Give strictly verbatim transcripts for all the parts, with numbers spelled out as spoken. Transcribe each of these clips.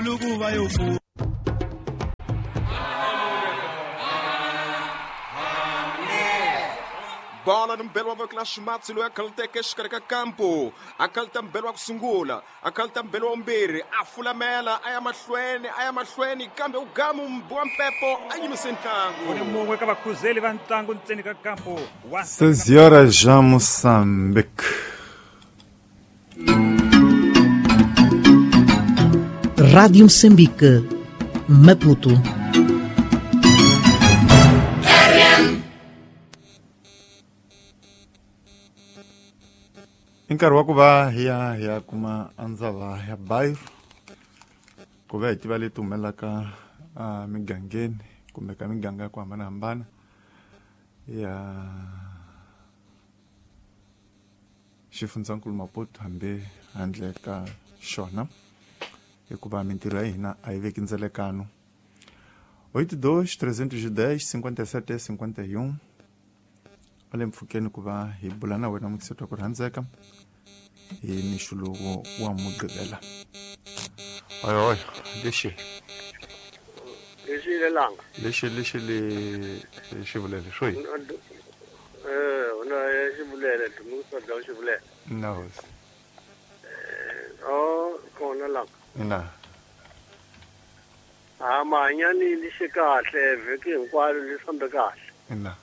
Nkulukuva yo fu. Bola ni mbelo wa voko la ximatsi loyi a khaluteke exikarhi ka kampo a khaluta mbelo wa ku sungula a khaluta mbelo wa vumbirhi a fulamela a ya mahlweni a ya mahlweni kambe u gamu wa mpepo a yimise ntlangu u ni mun'we ka vakhuzeli va ntlangu ntseni ka kampo wa Seis horas já Moçambique. Rádio Moçambique, Maputo. I nkarhi wa ku va hi ya hi ya kuma andzava ya bayo ku va hi tiva leti humelelaka a migangeni kumbe ka miganga ya ku hambanahambana ya xifundzankulu Maputo hambi handle ka xona hikuva mintirho ya hina a yi veki ndzelekano. Oito dois trezentos e dez cinquenta e sete cinquenta e um ale mpfhukeni ku va hi bula na wena mukiseti wa ku rhandzeka hi mixo lowu wa Mugqivela. Oyo oyo lexi lexi lelanga lexi lexi le xivulele swo yi eh una xivulele dumusa da xivulele na hosi eh o kona langa na a mahanyani lexi kahle vhiki hinkwaro li fambe kahle na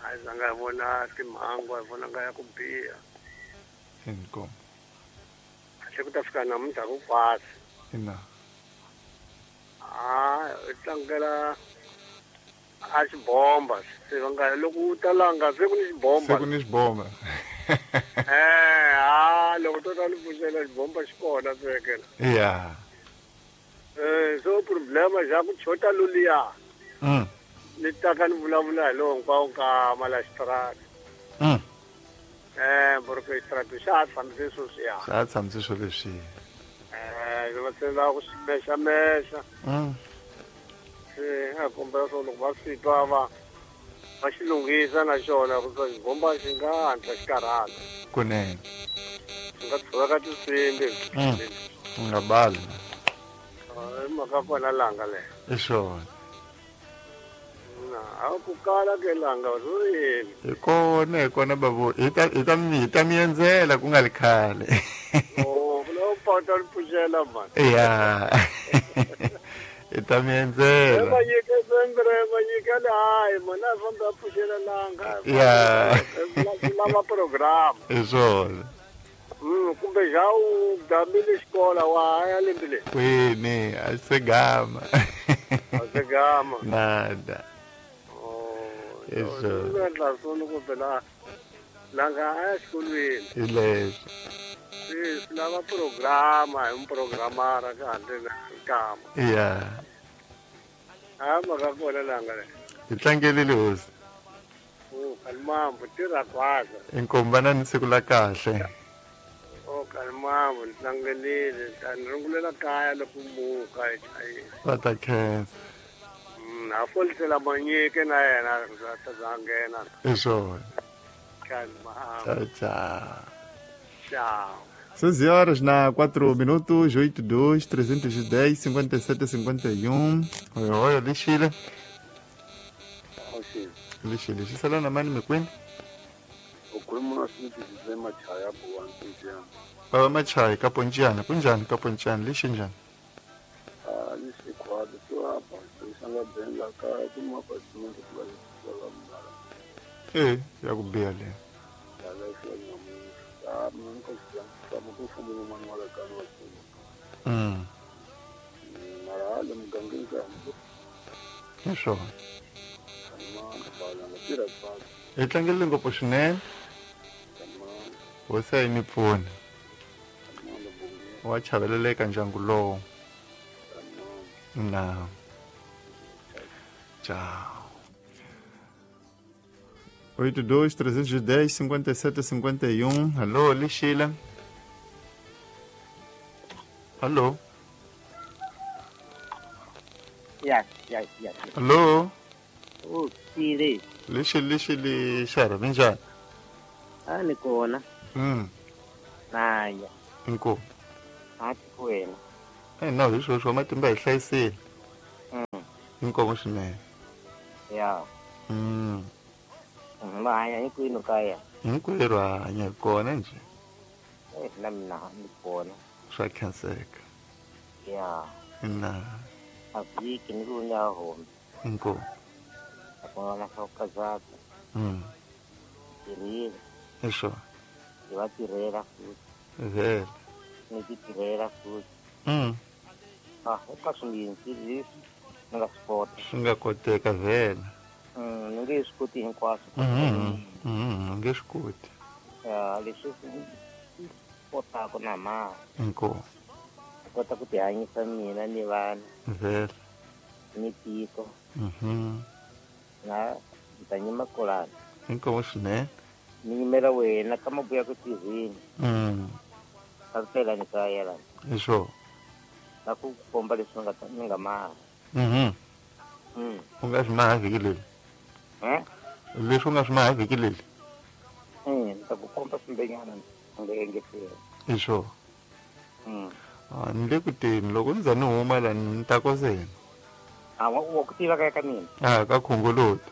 a zanga hi vona timhangu hi vona nga ya ku biha inkomu kahle ku ta fika namuntlha ku kwasi ina a hi tlangela a xibomba se va nga loko u talanga se ku ni xibomba se ku ni xibomba eh a loko to ta ni pfuxela xibomba xi kona sekela ya eh so problema xa ku chota luliya mm ni taka ni vulavula hi lowo hinkwawo ka mala xitarata mm eh porque xitarata xa ha tshamise sweswiya xa ha tshamise swo leswi eh va se lava ku swi mexamexa mm se a kombela swo loko va swi twa va va xi lunghisa na xona ku swa xibomba xi nga hatla xi karhala kunene xi nga tshoveka tinsimbi u nga bali i mhaka kona langa leyo i swona a ku kala ke langa ro yini hi kona hi kona babu hi ta hi ta mi hi ta mi endzela ku nga li khale oh ku lava pota li pfuxela mani ya hi ta mi endzela manyike sengre manyike le hayi mani a famba a pfuxela langa ya lava program hi swona mm kumbe xa u gamile xikola wa ya lembe leri kwini a se gama a se gama nada Eso. Endla swona kumbe la langa a ya xikolweni hi leswo swi swi lava programa hi muprogramara ka handle na nkama ya a mhaka kona langa leyi hi tlangelile hosi o kalimambu tirha khwaza inkomu va na ni siku la kahle o kalimambu ni tlangelile ta ni rungulela kaya loko muka hi chayile va ta khensa a folisela manyike na yena ta za nghena hi swona kalimambu tchau tchau tchau Seis horas na quatro minutos, oito, dois, trezentos e dez, cinquenta e sete, cinquenta e um. Oi, oi, lixile. Lixile, xisela na mani mikwini? Ukhuluma na Smith Sizwe Machaya buwa-Mpontshane. Baba Machaya ka Pontshane, kunjani ka Pontshane, lixe njhani? Ah, lixe khwalo so apa, sanga benga ka kuma pa Smith ku la mara. Eh, ya ku biha le. Ya la xo na mu. Ah, mun ko xi ka mu ku fumu mani wa ka wa. Mm. Mara le mugangeni ka. Hi swona. Ma ba la tira pa. Hi tlangele ngopfu swinene. Hosi a yi mi pfuni. Wa chaveleleka ndyangu lowu. Na. Tchau. Oito dois trezentos e dez cinquenta e sete cinquenta e um. Alô, Lixila. Alô. Yes, yes, yes. Alô. Oh, Sile. Lixi, lixi, lixara, minjhani? A ni kona. Mm. Naya. Inkomu. A tikweni. Eh na hi sweswo matimba hi hlayisile. Mm. Inkomo swinene. Ya. Mm. Ma hanya hinkwenu kaya. Hinkwerhu hanya kona nje. Eh na mina ni kona. Swa khenseka. Ya. Na. A vhiki ni ku nya home. Inkomo. Akona swa kazaka. Mm. Tirhile. Esho. Hi va tirhela futhi. Vele. Ni ti tirhela futhi. Mm. Ah, eka swingi leswi ni nga swi kota. Swi nga koteka vele. Mm, ni nge swi koti hinkwaswo. Mm. Mm, nge swi koti. Ya, leswi swi kotaka na ma. Inkomo. Kota ku tihanyisa mina ni vana. Vele. Ni tiko. Mhm. Na ta nyima kolana. Inkomo swinene. Ni nyimela wena ka mabuya ku tirheni. Mm. Ka tela ni kaya la. Esho. Na ku komba leswi nga ni nga maha. Mhm. Mm. U nga swi maha vhiki leri. Eh? Leswi u nga swi maha vhiki leri. Eh, ni ta ku komba swimbenyana ni nga engetela. Esho. Mm. Ah, ni le ku teni loko ni za ni huma la ni ta kosena. Ah, wa wa ku tiva kaya ka mina. Ah, ka khongoloti.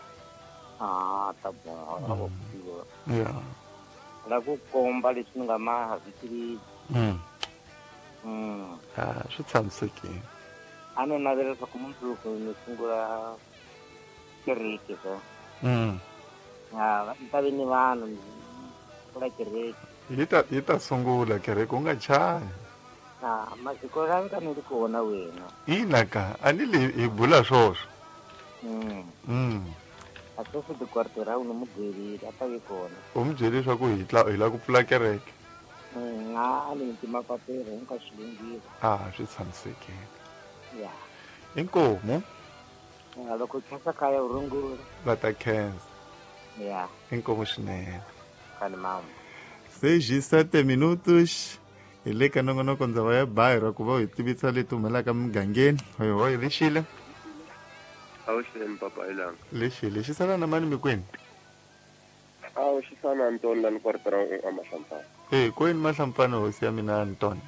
Ah, ta boha, wa ku tiva. Ya. La ku komba leswi ni nga maha vhiki leri. Mm. Mm. Ah, swi tshamisekile. A ni navela leswaku mundzuku ni sungula kereke so. Mm. Ah, ni ta ve ni vanhu ni pfula kereke. Yi ta yi ta sungula kereke u nga chavi. Ah, masiku la ka ni ri kona wena. Ina ka, a ni le hi bula swoswo. Mm. Mm. A sweswi dikwartera u ni mu byerile a ta ve kona. U mu byele leswaku hi tla hi lava ku pfula kereke. Mm, a ni nti mapapila hinkwaswo swi lunghile. Ah, swi tshamisekile. Ya. Inkomo. Ya, loko khensa kaya u rungula. Va ta khensa. Ya. Inkomo swinene. Kani mama. Seis e sete minutos. Hi le ka nongonoko ndzava ya bayiro ku va u hi tivisa leti humelaka mugangeni. Hoyi hoyi lexile. Awuxeni papa ilanga. Lexile xi sala na mani mikwini? Awu xi sana Anton la ni kwartera a Mahlampfana. Eh, kwini Mahlampfana hosi ya mina Anton?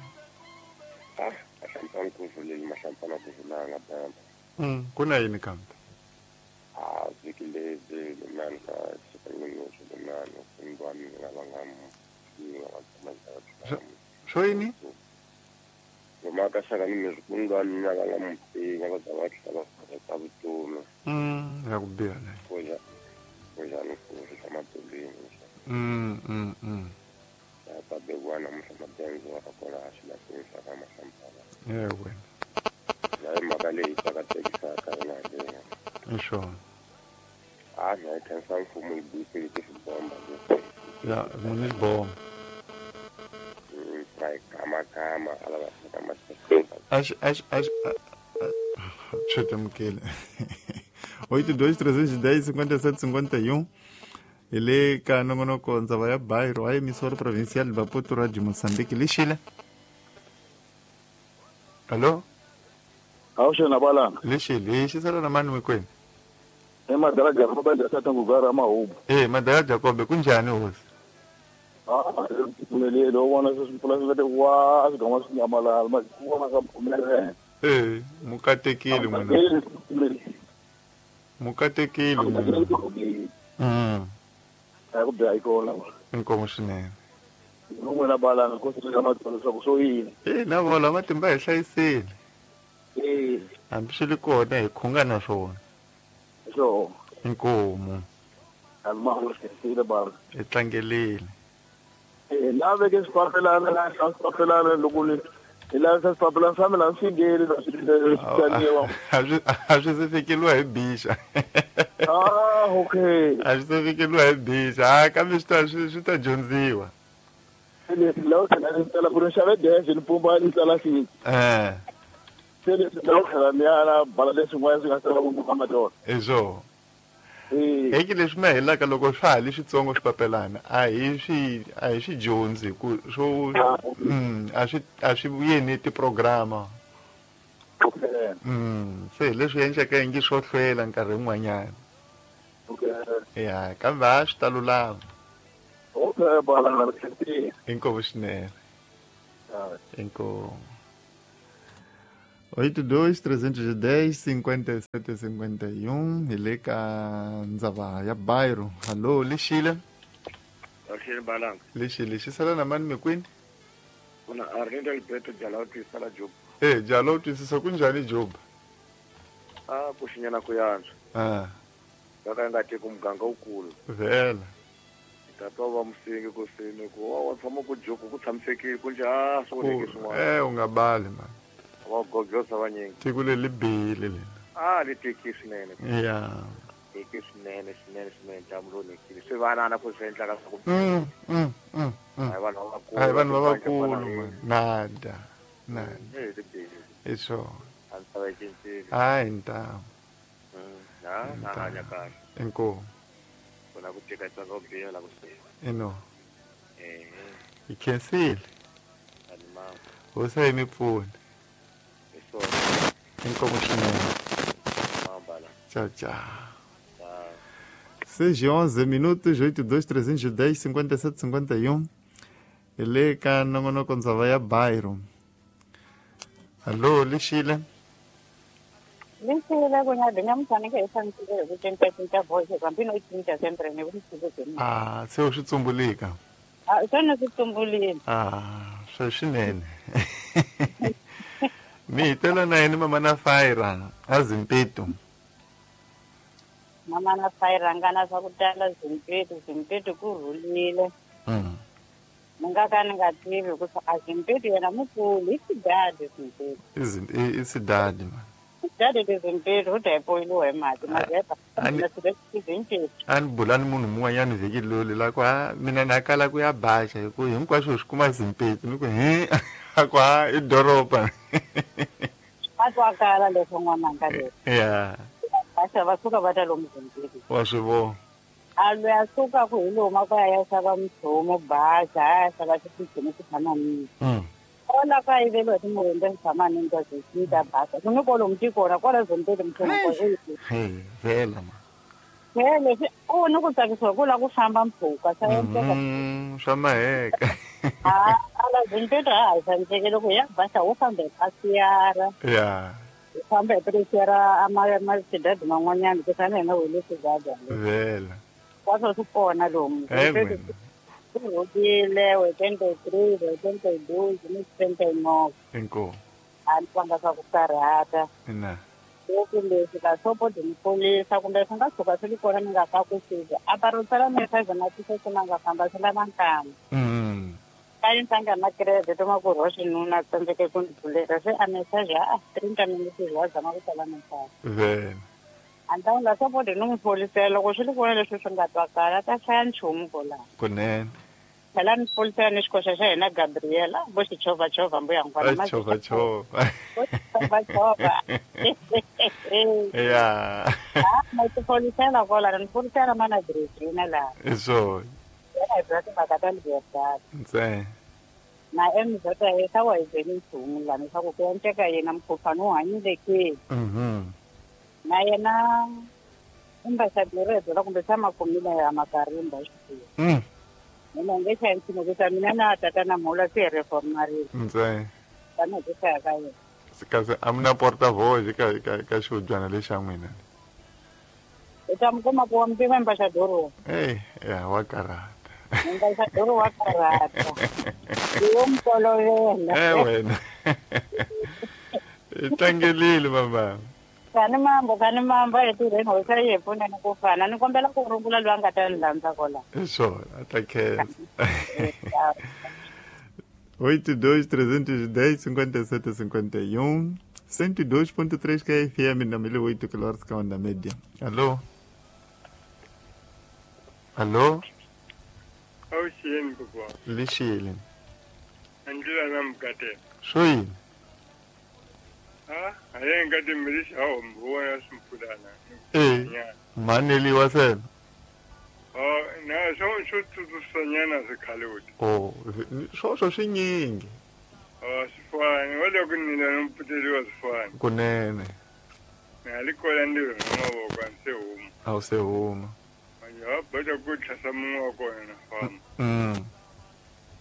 Ah, Mahlampfana ku vuleli Mahlampfana ku vulanga bamba. Mm, ku na yini kambe? Ah, vhiki lebyi nani ka xikan'we nani kumbe mina va nga mu Swo yini? Mhaka xaka ni mizikundwa mina va nga mu pfinya va za va tlhela va heta vutomi. Mm, ya ku biha leyi. Ku ja ku ja ni ku swa matolweni. Mm, mm, mm. Ya ta bekiwa namuntlha madenzo wa kona a xilahlweni xa ka Mahlampfana. Ye wena. Ya hi mhaka leyi tsakatekisaka yona leyi. I swona. Ah, na yi khensa mfumo yi buyisile tisibomba leswi. Ya, muni xibomba. Kama kama ala kama. Acho acho acho Chutamkele. oito dois trezentos e dez cinquenta e sete cinquenta e um. Hi le ka nongonoko ndzava ya bayiro a emissora provincial de Maputo Radio Moçambique lexile. Allo? Awuxena balanga. Lexile, xi sala na mani mikwini? E madala Jacob ndza tata ngugara mahubu. Eh, madala Jacob kunjani hosi? Ah, pfumeleli u vona sweswi mpfula swi nga wa swi gama swi nyamalala ma ku vona ka pfumelele. Eh, mukatekile n'wina. Mukatekile n'wina. Mm. A ku biha yi kona. Inkomo swinene. N'wina balanga ku swi nga matsolo leswaku swo yini. Eh, na vona matimba hi hlayisile. Eh. Hambi swi ri kona hi khunga na swona. Swo. Inkomo. Alma swi bala. Hi tlangelile. Eh, na veke swipapelana la swipapelana loko ni hi lavisa swipapelana swa mina swi ngeni na swi tsaniwa. A swi a swi se fikeliwa hi bixa. Ah, okay. A swi se fikeliwa hi bixa. Ah, kambe swi ta swi swi ta dyondziwa. Leswi lawa tlhela ni tsala ku ri xave dexe ni pumba ni tsala xi. Eh. Se leswi lawa tlhela ni ya na bala leswin'wana swi nga tsala ku kamba tona. Hi swona. Heki leswi ma helaka loko swa ha li switsongo swipapelana a hi swi a hi swi dyondzi ku swo mm a swi a swi vuyeni tiprograma. Okay. Mm, se hi leswi endleka ingi swo hlwela nkarhi wun'wanyana. Okay. Ya, kambe a swi ta lulama. Okay, bala na Inkomo swinene. Inkomo. Oito dois trezentos e dez cinquenta e sete cinquenta e um hi le ka ndzava ya Bairro. Hallo, lexile. Lexile balanga. Lexile xi sala na mani mikwini? Kuna Arlindo Alberto Jala twisisa la Job. Eh, Jala twisisa kunjani Job? Ah, kuxinyana ku yantswa. Ah. Ka nga teki muganga wukulu. Vela. Tata wa musingi ku sini ku wa wa tshama ku joku ku tshamisekile ku nje ah swi onheke swin'wana. Eh, u nga bali man. Wa gogosa vanyingi. Tiko leri li bihile lena. Ah, li teki swinene. Yeah. Teki swinene swinene swinene jamu lo onhekile. Swi vanana ku swi endlaka swa ku. Mm, mm, mm. A hi vanhu lavakulu. A hi vanhu lavakulu man. Nada. Nada. Eh, li bihile. Hi swona. A ndzi ta va yi cincile. Hayi ntamu. Na, na hanya kahle. Inkomu. Kuna ku teka tsaka ku biha la ku swi. Ino. Eh. Hi khensile. Animal. Hosi yi mi pfuna. Hi swona. Inkomu swinene. Mambala. Tchau, tchau. seis e onze minutos, oito dois trezentos e dez cinquenta e sete cinquenta e um. Ele ka nongonoko ndzava ya Bairro. Allo, lexile. Lexile kunyadi nyamufaneke hi fanisile hi ku cincacinca voice hambi no cinca sempre ni ku swi Ah, se u swi tsumbulika. Ah, swona swi tsumbulile. Ah, swa swinene. Mi hitela na yini mama na Fire a Zimpeto. Mama na Fire nga na swa ku tala Zimpeto, Zimpeto ku rhulile. Mm. Ni nga ka ni nga tivi ku a Zimpeto yena mukulu i xidadi Zimpeto. I i xidadi man. Xidadi le Zimpeto u ta yi poyiliwa hi mati mazeba. A ni bula ni munhu mun'wanyana vhiki loli la ku ha mina na kala ku ya baxa hi ku hinkwaswo swi kuma Zimpeto ni ku he a ku ha i doroba. A twakala leswo n'wananga leswi. Yeah. Baxa va suka va ta lomu Zimpeto. Wa swi vona. A loyi a suka ku hi lomu ku ya ya xava muthomo baxa a ya xava xitshimi xi tshama nini. Ola ka yiveliwa hi timurhumbe swi tshama nini ta zimpeto ta baxa. Ku ni kwalomu tikona kwala Zimpeto muthomo kwa Hey, vela ma. Vele swi u ni ku tsakisiwa ku lava ku famba mpfhuka swa endleka. Swa maheka. Ah, ala Zimpeto a ha tshamisekile loko hi ya baxa wo famba hi pasiyara. Yeah. Hi famba hi pasiyara a ma ma xidadi man'wanyana ku fana hina wele xidadi. Vela. Kwaswo swi kona lomu. Ku rhulile wetente three, wetente two, ni twenty nine. Inkomu. A ni twanga swa ku karhata. Ina. Loko leswi la sopo di polisa kumbe swi nga tshuka swi ri kona ni nga ka ku fika. A va ro tsala message na tise swi nga famba swi lava nkama. Mm. Ka yi ntanga na credit ma ku roxi nuna tsandzeke ku ni pfuleka se a message a thirty minutes wa zama ku tsala message. Vela. A ni ta la sopo di n'wi polisela loko swi ri kona leswi swi nga twakala ta hlaya nchumu kwalaho. Kunene. Phela ni polisela ni xikoxa xa hina Gabriela vo xi chovhachovha mbuya n'wana ma chovhachovha. Vo chovhachovha. Yeah. Ah, ma ti polisela kwala ni polisela mana Regina laha. Hi swona. Yena hi bya timhaka ta Libertad. Ntsena. Na M Z ya sa wa hi byeli nchumu laha leswaku ku endleka yena mukhuhlwani wu hanyile ke. Mhm. Na yena ambassador byela kumbe xa makumile ya makarimba xikwembu. Mm. Mina nge xa nchumu ku mina na tatana mhula se reformarile. Ntsena. Tanihi ku hlaya ka yena. Kasi a mi na porta-voce ka ka ka xihubyana lexa n'wina. U ta mi kuma ku wa mi tiva ambassador. Hey, ya wa karhata. Ambassador wa karhata. Yo mi tolovela. Eh wena. I tlangelile mama. Kani mambo kani mambo hi tirheni hosi yi hi pfuneni ku fana ni kombela ku rungula loyi a nga ta ni landza kwala. Hi swona a ta khensa. Oito dois trezentos e dez cinquenta e sete cinquenta e um cento e dois ponto três K F M na mil e oito quilômetros que é onda média. Alô? Alô? Awuxini kokwa. Lexile. Andlela na mukate. Swo yini? Ah, a yi nga timbilisi a hombo ya swimpfulana. Eh. Maneliwa sena. Oh, na swo swo tsutsusanyana swikhale. Oh, swoswo swinyingi. Oh, swifani wa loko ni la mputeliwa swifani. Kunene. Na li kola ndi ri mavoko a se huma. A wu se huma. Ya bata ku tlhasa mun'we wa kona na famba. Mm.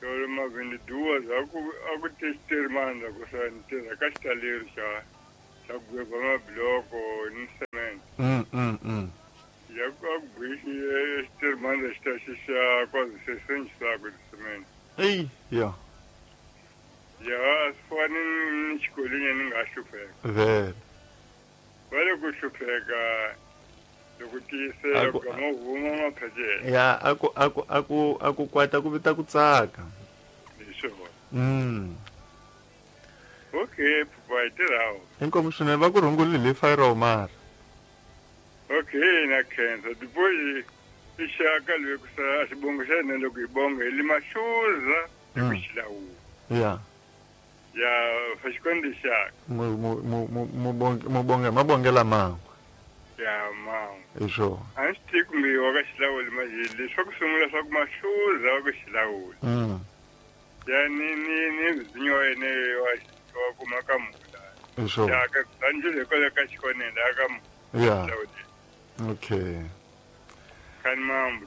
Yolo mavindi duwa za ku a ku testeri mandla ku sa ni tirha ka xitaleri xa Ta ku gweba mabiloko ni cement. Mm mm mm. Ya ku gwishi xitirimani lexi ta xi xa kwazi se senjisa ku cement. Ey, ya. Ya swi fani ni xikolweni ni nga hlupheka. Vele. Va le ku hlupheka loko tiyisela ku ma huma maphecele. Ya, aku aku aku aku kwata ku vita ku tsaka. Hi swona. Mm. Okay, papa hi tirhawo. Inkomu swinene va ku rhungulile hi fayiro mara. Okay, na khensa. Dipoyi i xaka loyi ku sa xibongo xa hina loko hi bonga hi lima xuza hi ku xilawula. Ya. Ya, fa xikwembu xaka. Mu mu mu mu mu bonga mabongela man'we. Ya man'we. Hi swona. A ni swi tivi kumbe wa ka xilawuli manje leswi ku sungula swa ku mahluza wa ku xilawula. Mm. Ya ni ni ni mzinyo wa yena wa wa kuma ka mula. Hi swona. Ya ka ndzi kwale ka xikonene la ka mula. Ya. Okay. Kan mambo.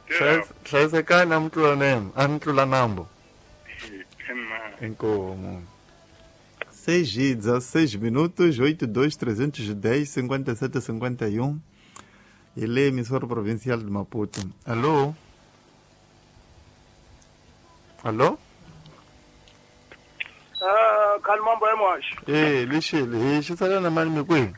Hlayisekani a mi tlula nem, a mi tlula nambo. Kan mambo. Inkomu. seis e dezesseis minutos, oito dois trezentos e dez cinquenta e sete cinquenta e um. Ele é emissora provincial de Maputo. Alô? Alô? Ah, kan mambo é mosh. Eh, lixile, xi sala na mali mi kwihi?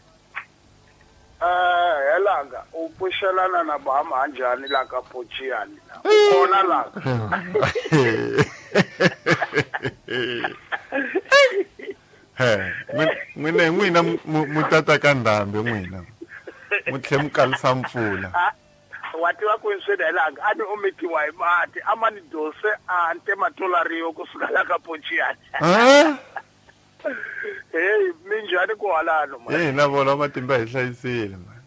Eh, helanga, u pfuxelana na Bahama njhani la ka Pochiani la? Kona la. He, n'wina n'wina mu tata ka ndhambi n'wina. Mu tlhe mu kalisa mpfula. Wa tiva ku swi helanga, a ni ometiwa hi mati, a ma ni dose a nte matolariyo kusuka la ka Pochiani. Eh? Hey, minjhani ku halano man. Hey, na vona matimba hi hlayisile man.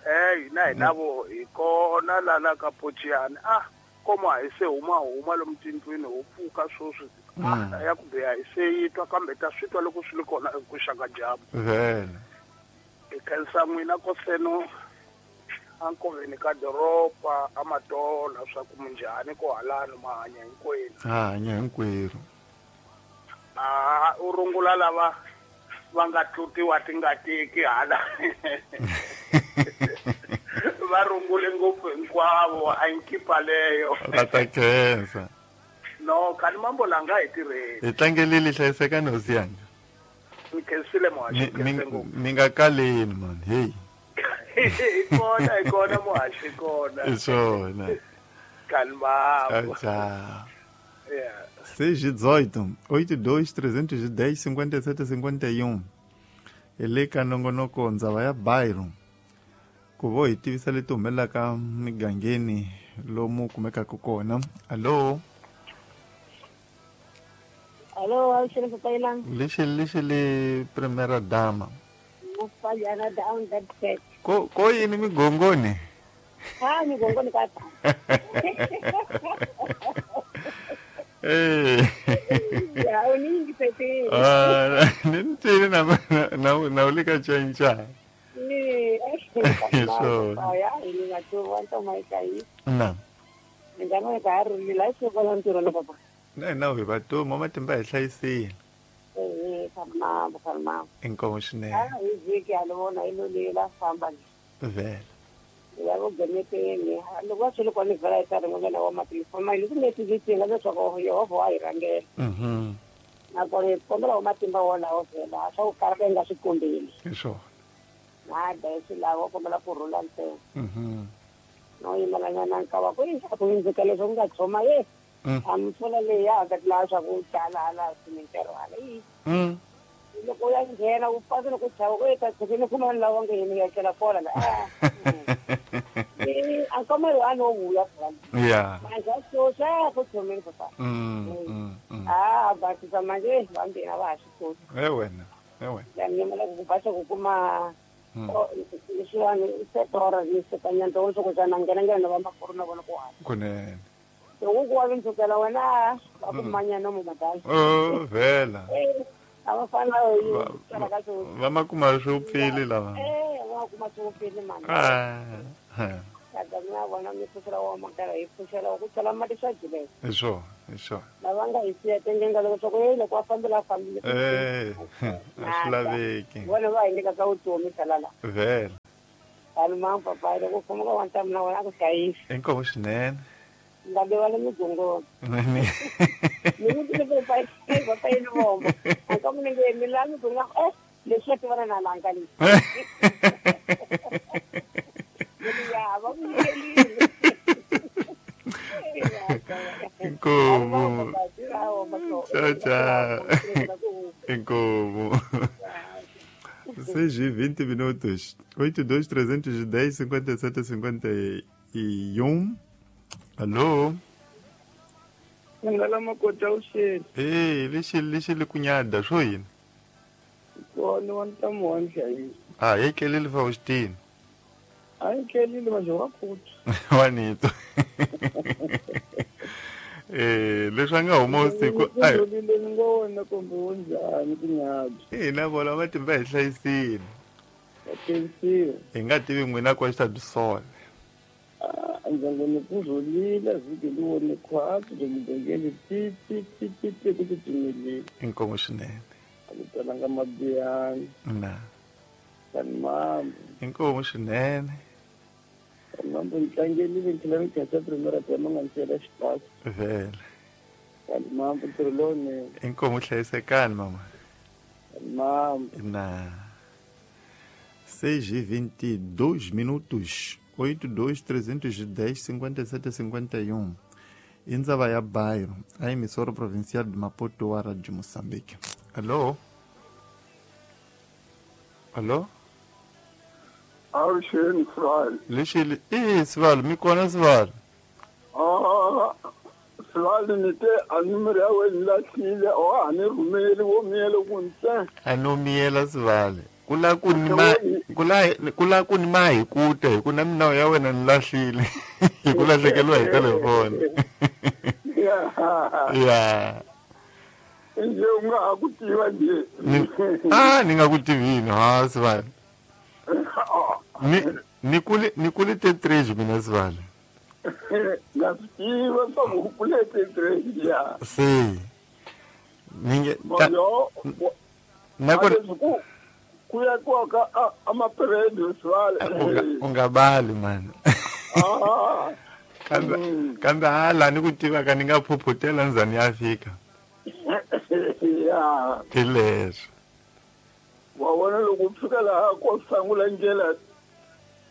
Hey, na hi na vo hi kona la la ka Pochiani. Ah, koma hi se huma huma lomu tindlwini ho pfuka sweswi. Ah, ya ku biha hi se yi twa kambe ta swi twa loko swi li kona ku xaka dyambu. Vele. Hi khensa n'wina koseno a nkoveni ka doroba a matola swa ku minjhani ku halano ma hanya hinkwenu. Ha hanya hinkwerhu. Ah, u rungula lava va nga tlutiwa tingatiki hala. Va rungule ngopfu hinkwavo a nkipa leyo. Va ta khensa. No, kani mambo langa hi tirheni. Hi tlangelile hlayisekani hosi yanga. Mi khensile muhaxi, khense ngopfu. Mi nga kaleni man, hey. Hi kona, hi kona muhaxi kona. Hi swona. Kani mambo. Ciao, ciao. Yeah. seis e dezoito, oito dois trezentos e dez cinquenta e sete cinquenta e um. Ele ka nongonoko ndzava ya bairro. Ku vo hi tivisa leti humelelaka migangeni lomu kumekaka kona. Allo? Allo, a xile Lexi lexi le primera dama. Mufayana down that set. Ko ko yini migongoni? Ah, migongoni ka ta. Eh. Ya, uningi pete. Ah, nintini na na na ulika chancha. Ni, so. Ya, ni na tu wanto mai kai. Na. Ngano ka ru ni la se kola ntiro la papa. Na na hi va to mama timba hi hlayisile. Eh, farma, farma. Inkomo swinene. Ah, hi vhiki a ni vona yi lo famba. Vele. Ya vo gemeteni loko va swi ri kona vhela yi karhi n'wanyana wa matimba ma yi ku netivitinga leswaku Yehovha wa hi rhangela. Mhm. Nakona hi kombela wa matimba wolawo vhela swa ku karata hi nga swi kombeli. Hi swona. Na da swi lava kombela ku rhula ntsena. Mhm. No yimelanyana nkawa ku yi ku hundzeka leswi ku nga tshoma ye. A mpfula leyi ya ka laha swa ku tala hala swimintirho hala yi. Mm. Loko ya nghena u pasa loko chava ku eta tshikini kuma lawa nga yini ya tlela kona la. Eh, a komelo a no vuya phela. Yeah. Manje so xa ku tshomeni papa. Mm. Mm. Ah, basisa manje vambirhi va ha swi koti. Eh wena, eh wena. La nyamela ku basa ku kuma leswiwani setora ni sekanyana swo ku xana nghena nghena va makuru na vona ku hanya. Kunene. Loko ku wa vindzukela wena va ku manyana mo madala. Oh, vela. A va fana na ka Va ma kuma swi upfile lava. Eh, va kuma swi upfile mani. Ah. Kada mina vona mi pfuxela wa makara hi pfuxela ku tsala mati swa jileka. Hi swona, hi swona. Lava nga hi siya tengenga loko swa ku hey loko a fambela a fambile. Eh, a swi laveki. Vona va hi nyika ka vutomi salala. Vhele. Vanhu ma papa loko u famba ka wa ntamu na wena a ku hlayisi. Inkomu swinene. Nga rivala migongoni. Ni vutile papa papa yini vombo. A ka munhu nge mi la migongoni eh leswi a tivana na lanka leswi. Ya va ku nyikerile. Inkomu. Tchau, tchau. Inkomu. seis e vinte minutos. oito dois, trezentos e dez, cinquenta e sete, cinquenta e um. Alô? Ngala makota usheli. Eh, lexi lexi li kunyada swo yini? Kona wa ntamu wa nhlayiso. Ah, yi kelele Faustino. A yi kelile manje wa kuta. Wa nito. Eh, leswi a nga huma usiku. Ai. Ngona kumbe unjani kunyada. Eh, na vona matimba hi hlayisile. Hlayisile. Hi nga tivi n'wina kwa xita Ndzangoni kuzolila vhiki liwone khwatsi lomudengele ti ti ti ti ti ku titimelile. Inkomu swinene. A ku talanga mabiyani. Na. Kani mambo. Inkomu swinene. Kani mambo ni tlangelile ni tlhela ni khensa primera tema nga ni siyela xipasi. Vhele. Kani mambo ntirho lowunene. Inkomu hlayisekani mama. Kani mambo. Na. seis e vinte e dois minutos. oito dois, trezentos e dez, cinquenta e sete, cinquenta e um. Indzaba ya bairro, a emissora provincial de Maputo, a Rádio Moçambique. Alô? Alô? Avuxeni, Sivali. Lexi, eh, Sivali, mi kona Sivali? Ah, Sivali ni te a numero ya wena lahlile, o a ni rhumeli wo miyela ku ntsena. A no miyela Sivali. Kula ku ni ma kula kula ku ni ma hi kuta hi ku na minawu ya wena ni lahlile hi ku lahlekeriwa hi telefoni. Ya. Nje u nga ha ku tiva nje. Ah, ni nga ku tivini ha Sivali. Ni ni kule ni kule te três mina Sivali. Nga swi tiva swa ku kule te três ya. Se. Ni nge na ku kuya kwaka amaperedo Sivali. Ungabali man. Ah. Kambe kambe hala ni ku tiva ka ni nga phuphutela ndzani ya fika. Ya. Hi leswo. Wa vona loko u fika laha ko sangula ndlela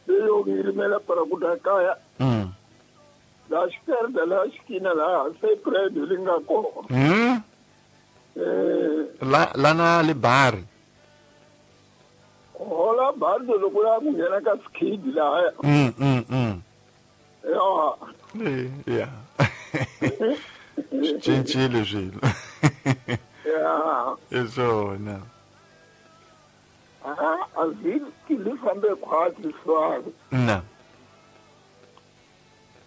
leyo ngirimela para ku ta kaya. Mm. La esquerda la esquina laha se prédio li nga kona. Mm. Eh. La lana le bar. Hola bardo loko ya ku nghena ka skid laha. Mm mm mm. Ya. Eh, ya. Cincile swilo. Ya. Hi swona. Ah, a vhiki li fambe khwatsi Sivali. Na.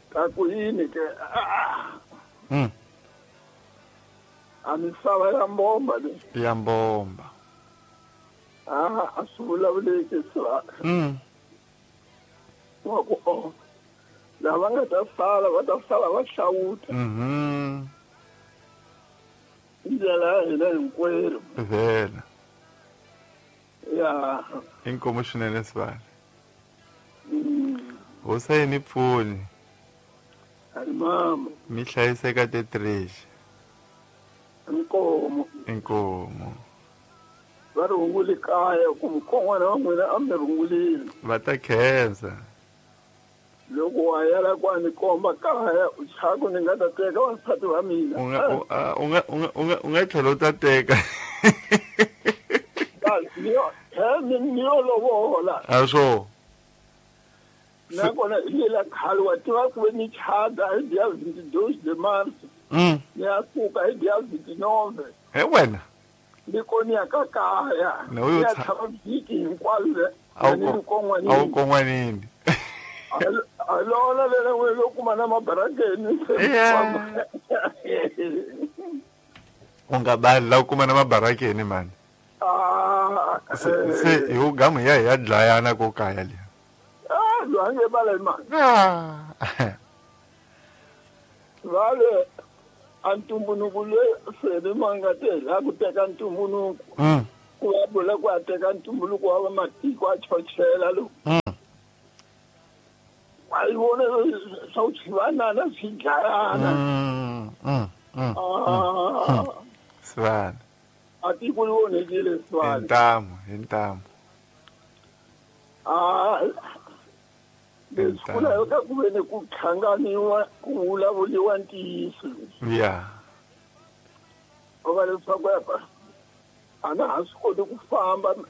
Ka ku yini ke? Mm. A misava ya mbomba le. Ya mbomba. Ah, a swi vulavuleki Sivali. Mm. Wa ku o. Lava nga ta sala va ta sala va hlawuta. Mhm. Ndlela ya hina hinkwerhu. Vhele. Ya. Inkomu swinene Sivali. Hosi yi ni pfuni. Ani mama. Mi hlayiseka te três. Inkomu. Inkomu. Va rhungule kaya ku mukon'wana wa n'wina a mi rhungulile. Va ta khensa. Loko wa yala ku a ni komba kaya u chaku ni nga ta teka vasati va mina. U nga u nga u nga u nga tlhela u ta teka. Ni yo he ni yo lovola. A swo. Nakona hi lela khale wa tiva ku ve ni chada hi dia vinte e dois de março. Mm. Ni ya suka hi dia vinte e nove. He wena. Ni koni ya ka kaya. Na uyo Ya tshama vhiki hinkwalo. A wu kon'wanini. A lona lera n'we lo kuma na mabarakeni. Yeah. U nga bali la u kuma na mabarakeni mani. Ah. Se se hi u gamu ya hi ya dlayana ko kaya le. Ah, Loyi a nge bala hi mani Ah. Vale a ntumbuluko loyi fele ma nga te la ku teka ntumbuluko Mm. ku va vula ku a teka ntumbuluko wa vamatiko a chochela lowu Mm. wa yi vona swa ku swivanana swi dlayana Mm. Mm. Mm. Ah, Sivana. a tiko li onhekile Hi sivana ntamu, hi ntamu. Ah, leswi ku laveka ku ve ni ku hlanganiwa ku vulavuriwa ntiyiso Yeah. va leswaku apa a na ha swi koti ku famba